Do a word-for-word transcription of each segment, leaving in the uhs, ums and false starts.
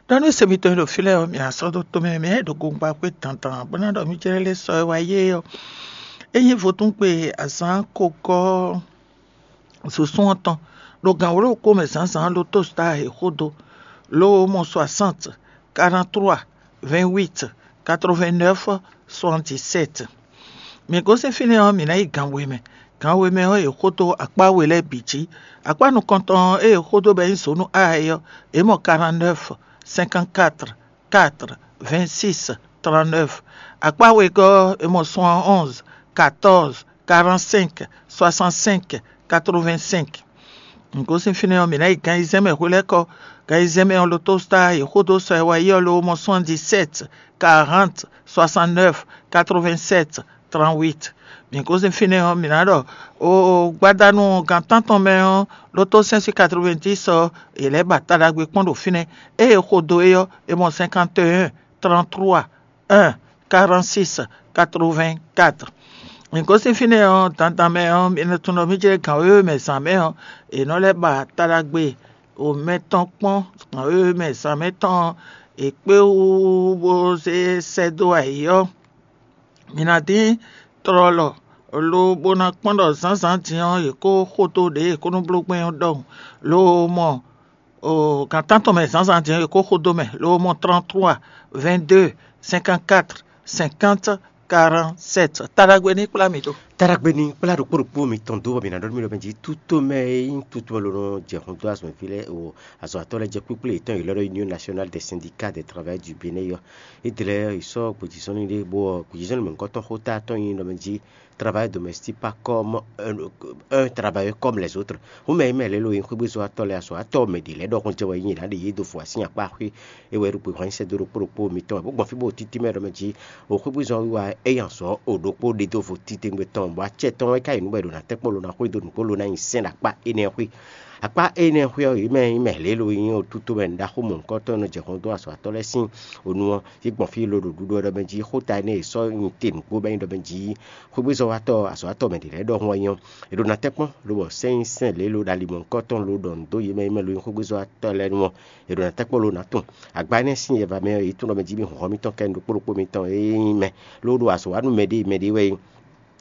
Ɖɔ nú se mitɔn e ɖo fí lɛ́ɛ ɔ́, mǐ ná sɔ́ dó tomɛ, mǐ ná yi ɖo gongba xwé dandan, bó ná ɖɔ mí jlɛ́ lɛ́ sɔ e wá yé ɔ́. É nyí vodúngbe azǎn kogɔ́ zǒsún ɔ́ tɔn, ɖo gan wǒ ɖokpó mɛ zǎnzǎn lotostar e xódó, ló mɔ soixante, quarante-trois, vingt-huit, quatre-vingt-neuf, soixante-dix-sept. Mǐ gosín fínɛ́ ɔ́, mǐ ná yi gan we mɛ. Gan we mɛ ɔ́, è xódó akpá we lɛ́ɛ bǐ jí. Akpá nukɔntɔn ɔ́, ée è xódó bɔ é nyí zǒnu A é ɔ́, è mɔ quarante-neuf, cinquante-quatre, quatre, vingt-six, trente-neuf. Akpá wegɔ́ ɔ́, è mɔ soixante-onze, quatorze, quarante-cinq, soixante-cinq, quatre-vingt-cinq. Gosín fínɛ́ ɔ́, mǐ ná yi gan ayizɛ́n mɛ hwelɛ́kɔ. Gan ayizɛ́n mɛ ɔ́, lotostar e xódó sɔ e wá yi ɔ́ ló mɔ soixante-dix-sept, quarante, soixante-neuf, quatre-vingt-sept, trente-huit. Mǐ gosín fínɛ́ ɔ́, mǐ ná ɖɔ o gbadanu gan tántɔn mɛ ɔ́, lotó cinq cent quatre-vingt-dix ɔ́, è lɛ́ ba ta ɖagbe kpɔ́n ɖo fínɛ́. Ée è xo do é ɔ́, è mɔ cinquante et un, trente-trois, un, quarante-six, quatre-vingt-quatre. Mǐ gosín fínɛ́ ɔ́, dandan mɛ ɔ́, mi nɔ tunwun ɖɔ mí jɛ gan wěwe mɛ zǎn mɛ ɔ́, è nɔ lɛ́ ba ta ɖagbe o mɛ tɔn kpɔ́n gan wěwe mɛ zǎn mɛ tɔn ɔ́, è kpé wú bó zé sɛ́ dó ayǐ ɔ́, mi ná dín tlɔlɔ lobo ná kpɔ́n ɖɔ zǎnzǎn din ɔ́, yě kó xo dó ɖě e è kó nɔ bló gbɛn ɔ́ ɖɔhun, lo mɔ o gan tántɔn mɛ zǎnzǎn din ɔ́, yě kó xo dó mɛ, lo mɔ trente-trois, vingt-deux, cinquante-quatre, cinquante, quarante-sept. Taɖagbe ní kplá mǐ ɖó. Taɖagbe ní kplá ɖokpó ɖokpó mitɔn dó, bɔ mǐ ná ɖɔ nú mì ɖɔ mɛ jí tútomɛ e nyí tútomɛ ló nɔ jɛ hun dó azɔ̌mɛví lɛ́ɛ o azɔ̌watɔ́ lɛ́ɛ jɛ kpíkplé yětɔn, yě lɛ́ ɖɔ Union Nationale des Syndicats des Travailleurs du Bénin ɔ́. Édɛlɛ yi sɔ́ gbějízɔ́nlin ɖé, bɔ gbějízɔ́nlin mɔ̌hunkɔtɔn xóta tɔn nyí ɖɔ mɛ jí travailleur domestique pas comme un, un travailleur comme les autres. Hǔn mɛ e mɛ lě lo nyí xwégbézɔ́watɔ́ lɛ́ɛ, azɔ̌watɔ́ mɛ ɖě lɛ́ɛ ɖɔhun jɛ wɛ nyí yě ná ɖe yě dó vɔ asín akpá xwé. É wɛ ɖo gbe hɔn nyi sɛ́ dó ɖokpó ɖokpó mitɔn wɛ, bó gbɔn fí bó títí mɛ ɖɔ mɛ jí o xwégbézɔ́ wiwa é nyi azɔ̌ o ɖokpó ɖe dó vo títengbe tɔn, bɔ acɛ tɔn wɛ ka yi nǔ bɔ è ɖo ná tɛ́ kpó lo ná xwé dó nǔgbó lo ná nyi sɛ́n ɖo akpá énɛ́ xwé. Akpá énɛ́ xwé ɔ́, yě mɛ nyí mɛ lě lo nyí o tútomɛ ɖaxó mɔ̌hunkɔtɔn e nɔ jɛ hɔn dó azɔ̌watɔ́ lɛ́ɛ sín o nu ɔ́, yě gbɔn fí lo ɖo ɖuɖu ɔ́ ɖɔ mɛ jí xóta énɛ́ e sɔ́ nyi te nǔgbó bɔ é nyí ɖɔ mɛ jí xwégbézɔ́watɔ́ azɔ̌watɔ́ mɛ ɖě lɛ́ɛ ɖɔhun wɛ nyí ɔ́, è ɖo ná tɛ́ kpɔ́n lobɔ sɛ́n nyi sɛ́n lě lo ɖo ali mɔ̌hunkɔtɔn lo ɖɔ nǔ dó yě mɛ e mɛ lo nyí xwégbézɔ́watɔ́ lɛ́ɛ nu ɔ́, è ɖo ná tɛ́ kpɔ́n lo ná tunwun. Agba énɛ́ sín yɛva mɛ ɔ́, yě tunwun ɖɔ mɛ jí mì hɔn hɔn mitɔn kɛ ɖokpó ɖokpó mitɔn e nyí mɛ ló ɖo azɔ̌ wa nú mɛɖée mɛɖée wɛ é nyí.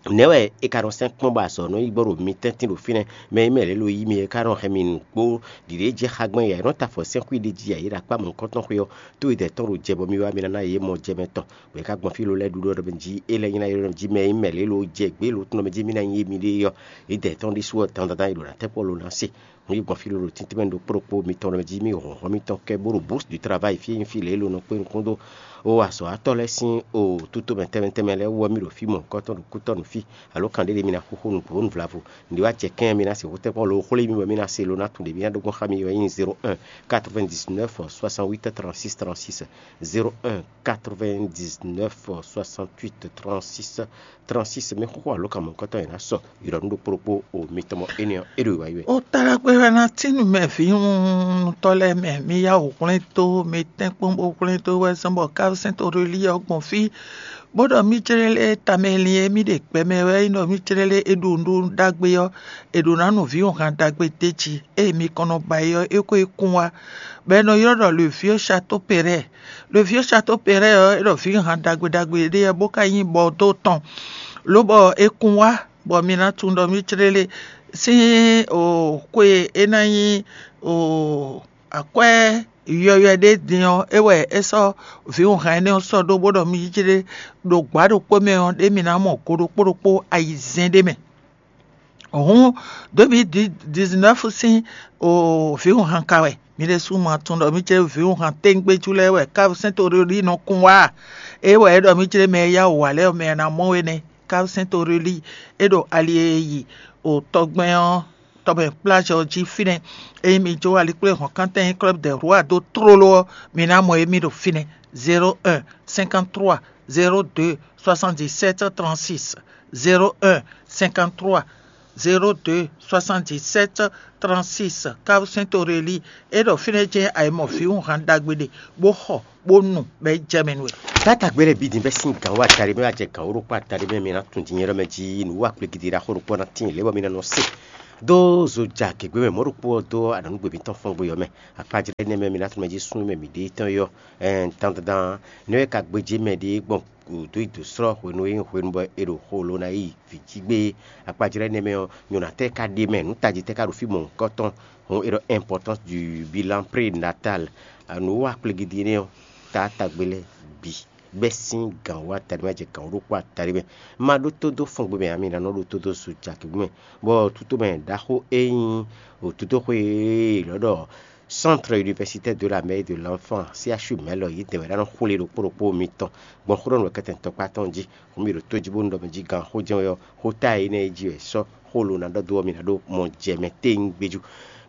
Nɛ̌ wɛ è ka nɔ sɛ́n kpɔ́n bɔ azɔ̌ nɔ yi gbɔ ɖo mi tɛ́ntin ɖo fínɛ́? Mɛ e mɛ lě lo yí mi é ka nɔ hɛn mi nǔgbó ɖiɖě jɛ xá gbɔn yɛ nɔ ta afɔ sɛ́n xwí ɖé jí yě ɖo akpá mɔ̌hunkɔtɔn xwé ɔ́, tó e dɛ̌ tɔn ɖo jɛ bɔ mi wá mi ná ná yě mɔ jɛ mɛ tɔn, bɔ é ka gbɔn fí lo lɛ́ɛ ɖuɖu ɔ́ ɖɔ mɛ jí é lɛ́ nyí ná ylɔ́ jí mɛ e mɛ lě lo jɛ gbě lo tɔn mɛ jí mì ná nyí émí ɖée ɔ́, yě dɛ̌ tɔn ɖésú ɔ́ dandan yě ɖo ná tɛ́ kpɔ́ lo ná se. Nú yě gbɔn fí lolo tíntín mɛ ɖo kpó ɖokpó mitɔn ɖɔ mɛ jí mì hɔn hɔn mitɔn kɛ bó ɖo bourse du travail fí e nyí fí lě e lo nɔ kpé nukún dó o azɔ̌watɔ́ lɛ́ɛ sín o tútomɛ tɛnmɛ tɛnmɛ lɛ́ɛ wú ɔ́, mì ɖo fí mɔ̌hunkɔtɔn ɖo kútɔ́ nú fí, alo kan ɖé ɖé mi ná xúxú nǔgbó nǔvlavú. Nǔɖé wá jɛ kɛ́n mi ná sixú tɛ́ kpɔ́n lo xwlé mì bɔ mi ná se lo ná tunwun ɖě mi ná ɖó gbɔn xá mi ɔ́ nyí zéro un quatre-vingt-dix-neuf soixante-huit trente-six trente-six, zéro un quatre-vingt-dix-neuf soixante-huit trente-six trente-six. Mi xúxú alo kan mɔ̌hunkɔtɔn e ná sɔ yi ɖɔ nú ɖokpó ɖokpó o mitɔn mɔ énɛ́ ɔ́, é ɖo wǎyi wɛ. O taɖagbe wɛ ná tín nú mɛ vǐwunutɔ́ lɛ́ɛ mɛ, mi yá wǔ hwlɛ́n tó, mi tɛ́nkpɔ́n bó hwlɛ́n tó wɛ zɔ́n bɔ Kavsɛ́n Torelí ɔ́ gbɔn fí, bó ɖɔ mì jlɛ́ lé tamɛ lin e mì ɖe gbɛ mɛ wɛ é nyí ɖɔ mì jlɛ́ lé é ɖo nǔɖuɖu ɖagbe ɔ́, è ɖǒ ná nu vǐwunhan ɖagbe d'é jí. Ée mi kɔn nɔ ba é ɔ́, é ko yi kún wá, bɔ è nɔ ylɔ́ ɖɔ le vieux château Perret. Le vieux château Perret ɔ́, é ɖɔ vǐwunhan ɖagbe ɖagbe ɖé ɔ́, bó ka nyí Bordeaux tɔn, lobɔ è kún wá, bɔ mi ná tunwun ɖɔ mì jlɛ́ lé sín o xwe e é ná nyí o akwɛ́ yɔywɛ ɖé din ɔ́, é wɛ é sɔ́ vǐwunhan énɛ́ ɔ́ sɔ́ ɖó, bó ɖɔ mì jlɛ́ ɖo gbǎ ɖokpó mɛ ɔ́, ɖé mi ná mɔ go ɖokpó ɖokpó ayizɛ́n ɖé mɛ. Hǔn, deux mille dix-neuf sín o vǐwunhan ka wɛ. Mi ɖésú ma tunwun ɖɔ mì jlɛ́ vǐwunhan téŋgbéjú lɛ́ɛ wɛ Kavsɛ́n Torelí nɔ kún wá a? É wɛ é ɖɔ mì jlɛ́ mɛ e yá wǔ wá lɛ́ɛ ɔ́, mɛ e ná mɔ we nɛ́. Kavsɛ́n Torelí, é ɖo ali e yi o tɔgbɛn ɔ́ tɔmɛ kplázɔ jí fínɛ́. Ényí mi jó alikpléhɔ̌nkántɛn club de roi dó tlóló ɔ́, mi ná mɔ émí ɖo fínɛ́. Zéro un cinquante-trois zéro deux soixante-dix-sept trente-six, zéro un cinquante-trois zéro deux soixante-dix-sept trente-six. Kavsɛ́n Torelí, é ɖɔ fínɛ́ jɛ́n ayǐmɔ vǐwunhan ɖagbe ɖe, bó xɔ, bó nu, bɔ é jɛ mɛ nú we. Tata gbé lɛ́ɛ bǐ din bɛ́ sín gǎn wá atari mɛ wá jɛ gǎn wó ɖokpó atari mɛ mi ná tun din nyɛ ɖɔ mɛ jí nǔ wá kplé gidi ɖaxó ɖokpó ná tíin lě bɔ mi ná nɔ se. Dó zo ja gěgbé mɛ mɔ̌ ɖokpó ɔ́ dó aɖɔ̌nugbě mǐtɔn fɔ́n gbe ɔ́ mɛ. Akpajlɛ́ énɛ́ mɛ mi ná tunwun mɛ jí súnnu mɛ mǐ ɖe tɔn é ɔ́, dandandan nɛ́ wɛ ka gbéjé mɛ ɖé gbɔn dó yi dǒ slɔ́ hwenu e nyí hwenu bɔ è ɖo xo lo ná yi vǐ jí gbé é. Akpajlɛ́ énɛ́ mɛ ɔ́, nyɔ̌nu tɛ́ ka ɖ'é mɛ, nǔ tají tɛ́ ka ɖo fí mɔ̌hunkɔtɔn? Hǔn è ɖɔ importance du bilan prénatal. Nǔ wa kplegidi énɛ́ ɔ́, taátagbe lɛ́ɛ bǐ bɛ́ sín gǎn wú atali mɛ jɛ gǎn wú ɖokpó atali mɛ. Ma ɖótó dó fɔngbe mɛ ǎ, mi ná nɔ ɖótó dó zo jaki mɛ, bɔ tutomɛ ɖaxó e nyí òtútóxwé e lɔ̌ ɖɔ Centre Universitaire de la Mère et de l'Enfant, C H U mɛ lɔ yě dɛn wɛ ná nɔ xwlé ɖokpó ɖokpó mitɔn gbɔn xó ɖɔ nǔ wɛ kɛtɛn tɔkpá tɔn jí. Hǔn mi ɖo tó jí bónú ɖɔ mɛ jí gǎn xó jɛ́n wɛ ɔ́, xó ta e énɛ́ jí wɛ sɔ́ xó lo ná ɖɔ dó ɔ́, mi ná ɖó mɔ jɛ mɛ téwún gbé jú.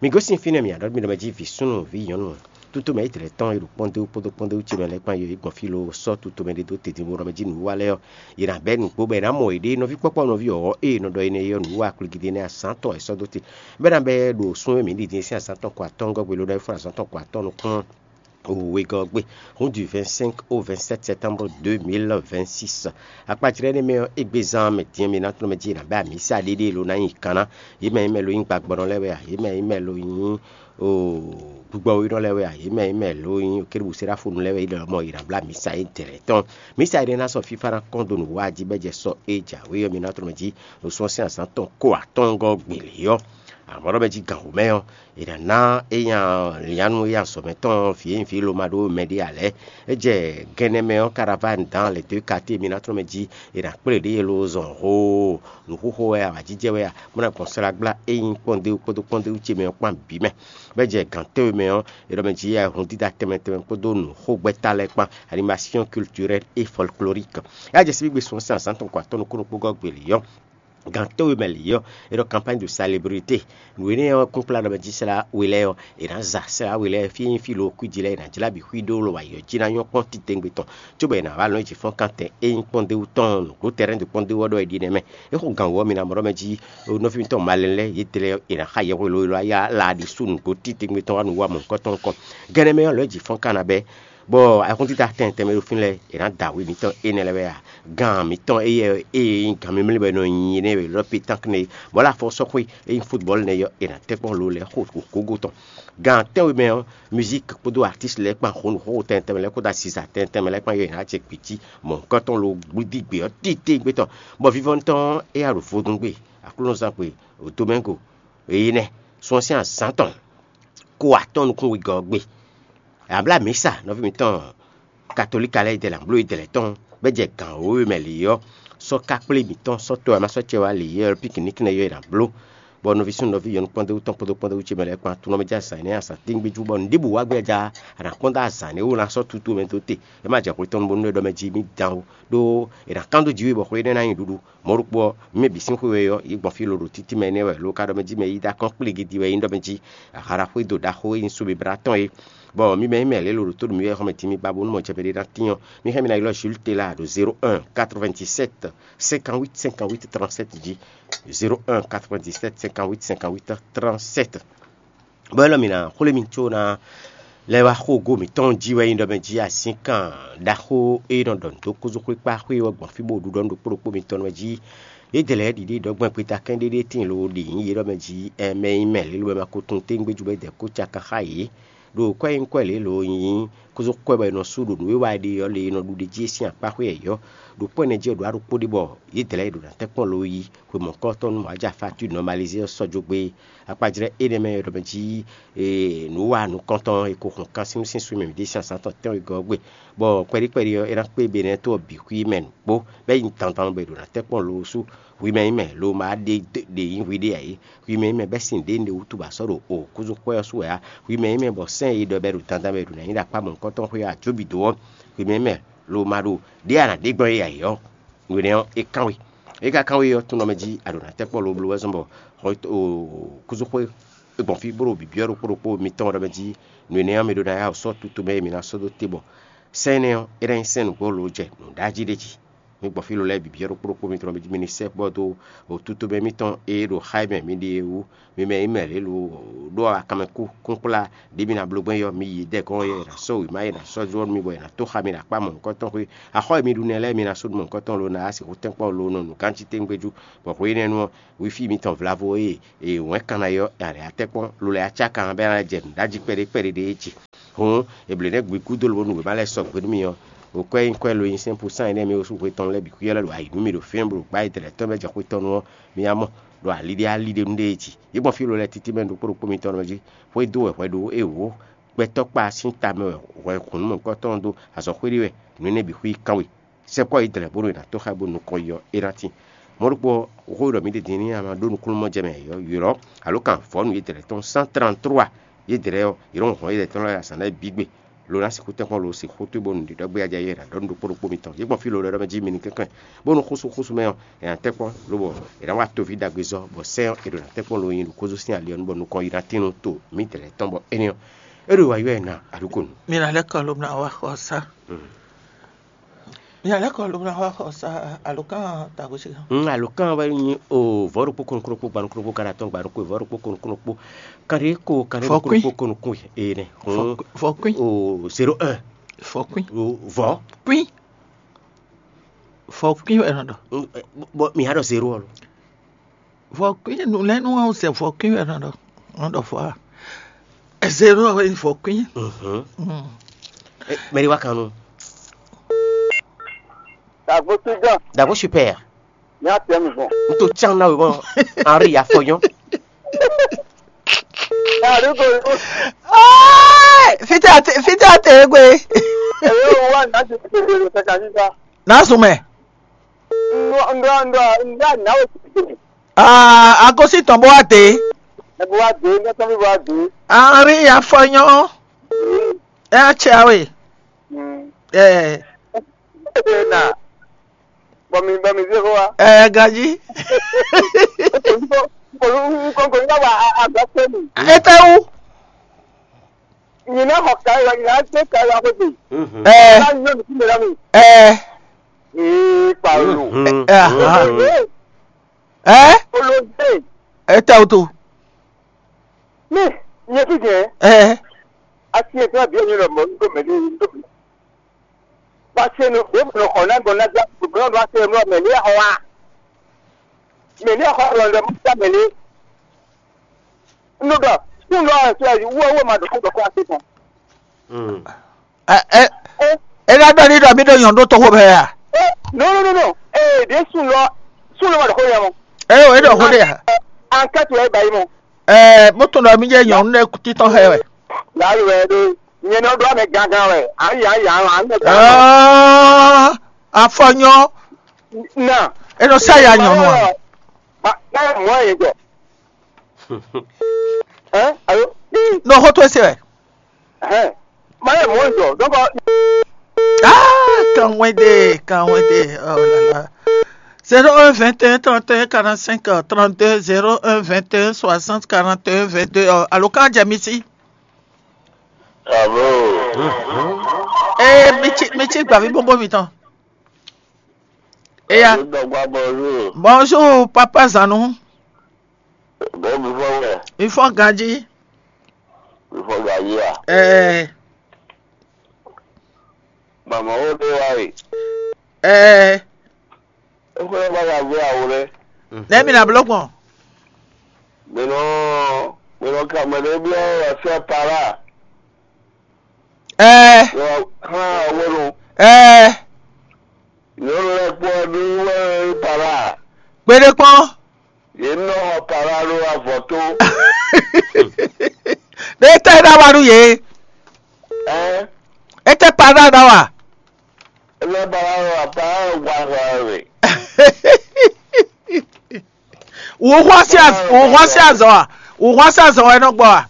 Mi gosín fínɛ́, mi ná ɖɔ mi ɖɔ mɛ jí vǐ súnnu, vǐ nyɔ̌nu, tutomɛ Izlayɛ́li tɔn e ɖo kpɔ́ndéwú kpódó kpɔ́ndéwú ce mɛ lɛ́ɛ kpan yɔ yě gbɔn fí lo sɔ́ tutomɛ ɖé dó tedinbo ɖɔ mɛ jí nǔwiwa lɛ́ɛ ɔ́, yě ná bɛ́ nǔgbó bɔ è nǎ mɔ yěɖée nɔví kpɔ́kpɔ́ nɔví ɔ́ e è nɔ ɖɔ énɛ́ é ɔ́, nǔwiwa kplígídé énɛ́ azǎn tɔn è sɔ́ dó te, bɔ é ná bɛ́ ɖo sun e mǐ ɖi din sín azǎn tɔn ko atɔ́ɔ́ngɔ́ gbe lo ɖɔ é fún azǎn tɔn ko atɔ́ɔ́n nukún wegɔ́ ɔ́ gbe. Hǔn du vingt-cinq au vingt-sept septembre deux mille vingt-six. Akpajlɛ́ énɛ́ mɛ ɔ́, égbé zán mɛ din e mi ná tlɔ́n mɛ jí è nǎ bɛ́ amǐsa ɖéɖéé lo ná nyi kan ná. Yě mɛ nyí mɛ lo nyí gbagbɔnɔ lɛ́ɛ wɛ a? Yě mɛ nyí mɛ lo nyí o gbigbɔwínɔ lɛ́ɛ wɛ a? Yě mɛ nyí mɛ lo nyí kérubù seráfonu lɛ́ɛ wɛ é ɖɔ mɔ yě ná blá mǐsa édɛɛ lɛ́ɛ tɔn. Mǐsa énɛ́ ná sɔ́ fífá ná kɔn dó nǔ wa jí bɔ é jɛ sɔ e jǎwe ɔ́ mi ná tlɔ́n mɛ jí ɖo sɔ́ sín azǎn tɔn ko atɔ́ɔ́ngɔ́ gbe lě ɔ́. Amɔ̌ ɖɔ mɛ jí gǎn wǒ mɛ ɔ́, è nǎ ná é nya lyǎnu e azɔ̌ mɛ tɔn vǐ e nyí vǐ Loma ɖó mɛ ɖé ǎ lɛ́ɛ. É jɛ gɛnɛ mɛ ɔ́, caravane dans les deux quartiers mi ná tlɔ́n mɛ jí è nǎ kplé ɖě e lo zɔn hoo nǔxoxo wɛ a, awǎjijɛ wɛ a, bó ná gbɔn slágbla e nyí kpɔ́ndéwú kpódó kpɔ́ndéwú ce mɛ ɔ́ kpán bǐ mɛ. Bɔ é jɛ gǎn tɛ́nwe mɛ ɔ́, è ɖɔ mɛ jí hun dídá tɛnmɛ tɛnmɛ kpódó nǔxogbɛ́ta lɛ́ɛ kpán, animation culturelle et folklorique. É wá jɛ síbígbe sun ɔ́ sín azǎn tɔn ko atɔ́ nukúnnú kpó gɔ́ gbě lě ɔ́, gǎn tɛ́nwe mɛ lě ɔ́, è ɖɔ campagne de célébrité. Nǔ énɛ́ ɔ́ kún kplá ɖɔ mɛ jí slá we lɛ́ɛ ɔ́, è nǎ za slá we lɛ́ɛ fí e nyí fí lo kwíji lɛ́ɛ, è nǎ jlá bǐ xwí ɖó lɔ wǎ yɔ jí ná nyɔ́ kpɔ́n titewungbe tɔn, cóbɔ è nǎ wá lɔn yi jǐ fɔ́n kan tɛn e nyí kpɔ́ndéwú tɔn nǔgbó tɛrɛ́n dó kpɔ́ndéwú ɔ́ ɖɔ è ɖi nɛ́ mɛ. É xo gǎn wǔ ɔ́, mi ná mɔ ɖɔ mɛ jí nɔví mitɔn malɛn lɛ́ɛ yě tlɛ è nǎ xa yɛhweɖówe lɔ yá la ɖi sú nǔgbó titewungbe tɔn wá nǔ wa mɔ̌hunkɔtɔn nukɔn. Gɛnɛ mɛ ɔ́, lɔ̌ jǐ fɔ́n kan ná bɛ́, bɔ ayihúndídá tɛntɛn mɛ ɖo fínɛ́ lɛ́ɛ, è nǎ da wǔ mitɔn énɛ́ lɛ́ɛ wɛ a? Gan mitɔn éyɛ́ e nyí gan mímlí wɛ è nɔ nyi énɛ́ wɛ lɔ pe tán kɛnɛ, bɔ lá fɔ sɔ́xwé e nyí futbɔ́lu nɛ́ ɔ́, è nǎ tɛ́ kpɔ́n lo lɛ́ɛ xo ɖo gǒgó tɔn. Gan tɛ́nwe mɛ ɔ́, musique kpódó artiste lɛ́ɛ kpán xó nǔ xóxó tɛntɛn mɛ lɛ́ɛ kpódó asiza tɛntɛn mɛ lɛ́ɛ kpán yɔ è nǎ jɛ gbǐ jí mɔ̌hunkɔtɔn lo gbídígbe ɔ́ titewungbe tɔn, bɔ vivɔnu tɔn ɔ́, é yá ɖo vodúngbe, aklúnɔzán gbe, domɛ́ngo, énɛ́ sɔ́n sín azǎn tɔn ko atɔ́n nukún wegɔ́ ɔ́ gbe. Abla mǐsa nɔví mǐtɔn katolíka lɛ́ɛ dɛ lǎn bló yi dɛ lɛ́ tɔn bɔ é jɛ gǎn wěwe mɛ lě ɔ́, sɔ́ kákplé mǐtɔn sɔ́ tɔ́ e ma sɔ́ cɛ wá lě ɔ́, pikiniki nɛ́ yɔ́ è nǎ bló, bɔ nɔví súnnu nɔví nyɔ̌nu kpɔ́ndéwú tɔn kpódó kpɔ́ndéwú ce mɛ lɛ́ɛ kpán tunɔ mɛ jɛ azǎn énɛ́ azǎn tɛ́ngbéjú, bɔ nǔɖébǔ wá gbé ja a nǎ kpɔ́n dó azǎn énɛ́ wú ná sɔ́ tútú mɛ dó te. É ma jɛ hwetɔ́nu bónú é ɖɔ mɛ jí mì dan ó, ɖó è nǎ kán dó jǐ we bɔ xwe énɛ́ ná nyi ɖuɖu. Mɔ̌ ɖokpó ɔ́, mɛ bǐ sín xwe wɛ ɔ́, yě gbɔn fí lǒ ɖo títí mɛ énɛ́ wɛ, lo ka ɖɔ mɛ jí mɛ yí dó akɔ́nkplígidi wɛ nyí ɖɔ mɛ jí. Ahara xwédo ɖaxó e nyí Sumiblá tɔn é, bɔ mi mɛ nyí mɛ lě lo ɖo tó ɖo mi wɛ xɔmɛ din mi ba bónú mɔ jɛ mɛ ɖé ná tín ɔ́, mi hɛn mi ná ylɔ́ Jules Tela ɖo zéro un quatre-vingt-dix-sept cinquante-huit cinquante-huit trente-sept jí. Zéro un quatre-vingt-dix-sept cinquante-huit cinquante-huit trente-sept. Bɔ élɔ́ mǐ ná xwlé mi có ná lɛ́ wá xógo mǐtɔn jí wɛ nyí ɖɔ mɛ jí asínkan ɖaxó e nɔ ɖɔ nǔ dó kúzúxwékpáxwé ɔ́ gbɔn fí bó ɖuɖɔ nú ɖokpó ɖokpó mitɔn wɛ jí. Yědɛɛ lɛ́ɛ ɖiɖi ɖɔ gbɛn gbeta kɛ́n ɖéɖé tíin lo ɖi nyǐ yě ɖɔ mɛ jí, ɛmɛ nyí mɛ lě lo wɛ ma ko tunwun tégbéjú bɔ é dɛ kó caka xá yě. Ɖo kwɛ́ nyí kwɛ́ lě lo nyí kúzú kwɛ́ bɔ è nɔ sú ɖo nǔ e wa è ɖe ɔ́ le è nɔ ɖu ɖe jí é sín akpá xwé yɛ̌yɔ́. Ɖo kpɔ́ énɛ́ jí ɔ́ ɖo aɖókpó ɖé bɔ yědɛɛ lɛ́ɛ ɖo ná tɛ́ kpɔ́n lo yí hwe mɔ̌hunkɔtɔn nú Mawu jɛ afa ɔ́ nɔ Malizée ɔ́ sɔ́ jó gbé. Akpajlɛ́ énɛ́ mɛ e ɖɔ mɛ jí nǔ wa nukɔntɔn e ko hun kan sín sín sú mɛ mǐ ɖe sín azǎn tɔn tɛ́nwegɔ́ ɔ́ gbe, bɔ kpɛɖí kpɛɖí ɔ́, é ná kpé Benɛ́ɛ to ɔ́ bǐ xwí mɛ nǔgbó, bɔ é nyí dandan bɔ è ɖo ná tɛ́ kpɔ́n lo sú. Hwi mɛ nyí mɛ lo ma ɖe ɖe nyí hwi ɖe ǎ é. Hwi mɛ nyí mɛ bɛ́ sin ɖě un ɖe wútu ba sɔ́ ɖo o kúzú xwɛ ɔ́ sú wɛ á. Hwi mɛ nyí mɛ bɔ sɛ́n e ɖɔ bɔ è ɖo dandan bɔ è ɖo ná nyí ɖo akpá mɔ̌hunkɔtɔn xwé ɔ́, ajǒ bǐ dó ɔ́, hwi mɛ nyí mɛ lo ma ɖo ɖě a nǎ ɖe gbɔn é ǎ é ɔ́, nǔ énɛ́ ɔ́, é kán we. É ka kán we ɔ́, tún nɔ mɛ jí a ɖǒ ná tɛ́ kpɔ́n lobló wɛ zɔ́n bɔ kúzúxwé é gbɔn fí bó ɖo bǐbyɔ́ ɖokpó ɖokpó mitɔn ɖɔ mɛ jí nǔ énɛ́ ɔ́, mi ɖó ná yá wǔ sɔ́ tutu mɛ e mi ná sɔ́ dó te bɔ sɛ́n énɛ́ ɔ́, é ná nyí sɛ́n nǔgbó lo jɛ nǔɖají ɖé jí. Gbɔn fí ló lɛ́ɛ bǐ byɔ́ ɖokpó ɖokpó mitɔn mɛ jí mi ní sɛkpɔ́ dó wǒtútú mɛ mitɔn e ɖo xá e mɛ mi ɖe é wú. Mi mɛ e mɛ lě lo ɖó akanmɛ kú kúnkplá ɖě mi ná bló gbɛn yɔ, mi yi dɛgɔn e è nǎ sɔ́ wěma e è nǎ sɔ́ jlɔ́ nú mi bɔ è nǎ tó xá mi ɖo akpá mɔ̌hunkɔtɔn xwé. Axɔ́ e mi ɖu nɛ́ lɛ́ɛ mi ná sú ɖu mɔ̌hunkɔtɔn lo ná sixú tɛ́nkpɔ́n lo nɔ nǔ ganjí tɛ́ngbéjú, bɔ hwe énɛ́ nu ɔ́, wifi mitɔn vlavo e è wɛ̌n kan ná yɔ è nǎ lɛ́ atɛ́kpɔ́n lo lɛ́ acá kan bɔ é ná jɛ nǔɖají kpɛɖé kpɛɖé ɖé é ce. Hǔn, è blǒ nɛ́ gbe gúdo lobo nú wěma lɛ́ɛ sɔgbe nú mi ɔ́, wǒkwɛ́ nyí kwɛ́ lo nyi sɛ́n pusán énɛ́ mi sú hwe tɔn lɛ́ɛ bǐ xwíyɔ́ lɛ́ɛ ɖo ayǐ nú mi ɖo fínɛ́ bó ɖo gbá e dɛ̌ tɔn mɛ jɛ xwé tɔn nu ɔ́, mi ná mɔ ɖɔ ali ɖé ali ɖé nú ɖé e jí. Yě gbɔn fí lo lɛ́ɛ títí mɛ ɖokpó ɖokpó mitɔn mɛ jí, xwedó wɛ hwɛ ɖó é wǒ. Gbɛtɔ́kpa sín ta mɛ wɛ hwɛ hǔn nú mɔ̌hunkɔtɔn ɔ́ dó azɔ̌ xwé ɖé wɛ, nǔ énɛ́ bǐ xwí kán we. Sɛkpɔ́ yi dlɛ̌ bónú è nǎ tó xá bónú nukɔn yi ɔ́, é ná tín. Mɔ̌ ɖokpó ɔ́, xó e ɖɔ mǐ ɖe din ní ama ɖó nukúnnú jɛ mɛ yɔ̌yɔ́, alo kan vɔ̌nu yědɛɛ tɔn cent trente-trois yědɛɛ ɔ́, yě nɔ hɔn yědɛɛ tɔn lɛ́ɛ azǎn lɛ́ɛ bǐ gbe, lo ná sixú tɛ́nkpɔ́n lo sixú towe bónú nǔɖiɖɔ gbéyájá yě ɖɔ nú ɖokpó ɖokpó mitɔn. Yě gbɔn fí lo lɛ́ɛ ɖɔ mɛ jí mi ní kɛnklɛ́n, bónú xúsú xúsú mɛ ɔ́, è nǎ tɛ́nkpɔ́n, lobɔ è nǎ wa toví ɖagbe zɔ́, bɔ sɛ́n ɔ́, è ɖo ná tɛ́nkpɔ́n lo nyi ɖo kózó sín ali ɔ́ nu, bɔ nukɔn yi ná tín nú to mǐdɛɛ tɔn, bɔ énɛ́ ɔ́, é ɖo wa ylɔ́ ɛ ná aɖúkonu. Mi ná lɛ́ kɔ ló ná wá xɔ sá. Mi ná lɛ́ kɔ ló ná wá xɔ sá alǒkan tagbo sí. Ŋ alǒkan wɛ nyí o vɔ̌ ɖokpó kɔnukúnukpó gbanukúnukpó kanatɔn gbanukúnukpó vɔ̌ ɖokpó kɔnukúnukpó kanɖé ko kanɖé Fɔkwín. Kɔnukúnukpó kɔnukún ene. Fɔkwín. O zéro un. Fɔkwín. O vɔ̌. Kwín. Fɔkwín wɛ nɔ ɖɔ. Bɔ mi hã ɖɔ zéro ɔ́ lo. Vɔ̌kwín nǔ lɛ́ɛ nú ɔ́ zɛ vɔ̌kwín wɛ nɔ ɖɔ. Nɔ ɖɔ fɔ a. Zéro wɛ vɔ̌kwín. Mɛɖé wá kan nú. Dagbo Sudan. Dagbo super. Ní atɛ mi gbɔn. N to can na webɔ Henri afɔnyɔ. Ní àdúgbò yìí. Fitɛ ate fitɛ ate egbe. Èyí ò wá ní àti tètè lè fẹ́ kàní sá. N'a sùn mɛ. Ndɔ ndɔ ndɔ ndɔ àná ò tètè. Aa agosi tɔn bó wá dé. Ẹ bó wá dé ní ẹtọ́ mi bó wá dé. Henri afɔnyɔ. Ẹ á tsɛ awe. Ẹ. Ẹ na. Bɔ mi bɔ mi zé xó wa. Ɛ ganjí. Nkɔnkɔn ní bá agba kpé mi. Etɛwu. Nyina xɔ ka yi wa nyina tse ka yi wa xwete. Ɛ. Ká nyɔ nukú mi la mi. Ɛ. Ee kpalo. Ɛ. Ɛ. Olóde. Etɛwu to. Mi nyɛ fi jɛ. Ɛ. Asi etɔn bi ɛnyɛ lɔ mɔ ndo mɛ ni ndo mɛ. Wá se nu ɖěbǔ nɔ xɔ ná gbɔn ná gbá gbɔn ɖo wá se nu mɛ ní xɔ wá. Mɛ ní xɔ lɔ lɛ mú ta mɛ ní. Nu ɖɔ sun lɔ ɛ sɛ wɔ wɔ ma ɖo kó ɖɔ kó ase tɔn. Ɛ ɛ ɛ ná ɖɔ ní ɖɔ mí ɖo nyɔ̌nu ɖó toxo mɛ a? No no no no. Ee ɖě sun lɔ sun lɔ ma ɖo kó yɛ mɔ. Ɛ o é ɖɔ xó ɖe a? Ankɛtu ɛ ba yi mɔ. Ɛ mú tún ɖɔ mí jẹ́ nyɔ̌nu ɖé títɔn xɛ wɛ. Lǎlu wɛ ɖo nyɛ nɔ ɖo amɛ gangan wɛ. Ayi ayi ayi amɛ gangan. Afɔnyɔ. Na. E nɔ sa ya nyɔnu a. Ba ba mɔ ye jɔ. Hein? Allô? Nɔ xɔ to ese wɛ. Hein? Ma ye mɔ ye jɔ. Donc. Ah, kanwɛde, kanwɛde. Oh là là. Zéro un vingt et un trente et un quarante-cinq trente-deux, zéro un vingt et un soixante quarante et un vingt-deux. Alo kan jɛ mi si. Alo. Ee mi tsi mi tsi gbavi bóbó mitɔn. Eya. Dɔgba bonjour. Bonjour papa Zanu. Bon mi fɔ wɛ. Mi fɔ ganji. Mi fɔ ganji a. Ɛɛ. Mama wo de wa yi. Ɛɛ. Exwe ba ya vɛ awo ɖe. Nɛ mi na blɔ gbɔn. Mino mino kamɛ ɖe bi ɔ ɛsɛ para. Ɛɛ. Yɔ hã awo nu. Ɛɛ. Nyɔnu lɛ kpɔ ɖu wɛ para. Kpeɖe kpɔn. Yě nɔ xɔ para ɖo avɔ tó. Ɖe tɛ ɖa wa ɖu yě. Ɛɛ. Ete para ɖa wa. Ele ba wa wa ba wa wa we. Wò hwá sí az wò hwá sí azɔ wa wò hwá sí azɔ wa nɔ gbɔ wa.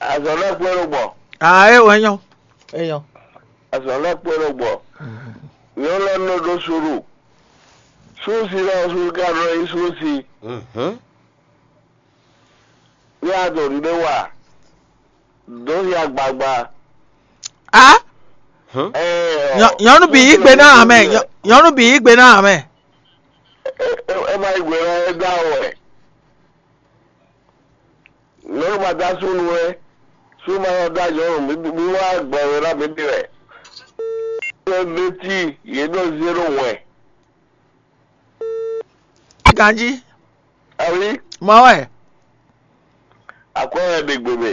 Azɔ lɛ kpé ló gbɔ. Aa e wɔ enyɔ enyɔ. Azɔ lɛ kpé ló gbɔ. Yɔ lɛ nɔ ɖo suru. Susi lɛ susi ka nɔ yi susi. Ní a dǒ ɖuɖé wa dǒ hia gbagba. A Nyɔ̌- nyɔ̌nu bǐ yí gbe ná amɛ. Nyɔ̌- nyɔ̌nu bǐ yí gbe ná amɛ. Ɛ má yí gbe ná ɛ dá wɛ. Nyɔ̌nu ma dá súnnu wɛ. Súnnu ma yɔ dá nyɔ̌nu. Mi wá gbɛ wɛ ná mi ɖe wɛ. Ɛ bɛ tí yě ɖɔ zéro wɛ. Ganjí. Awi. Mɔ wɛ. Akwɛ́ wɛ ɖe gbe mɛ.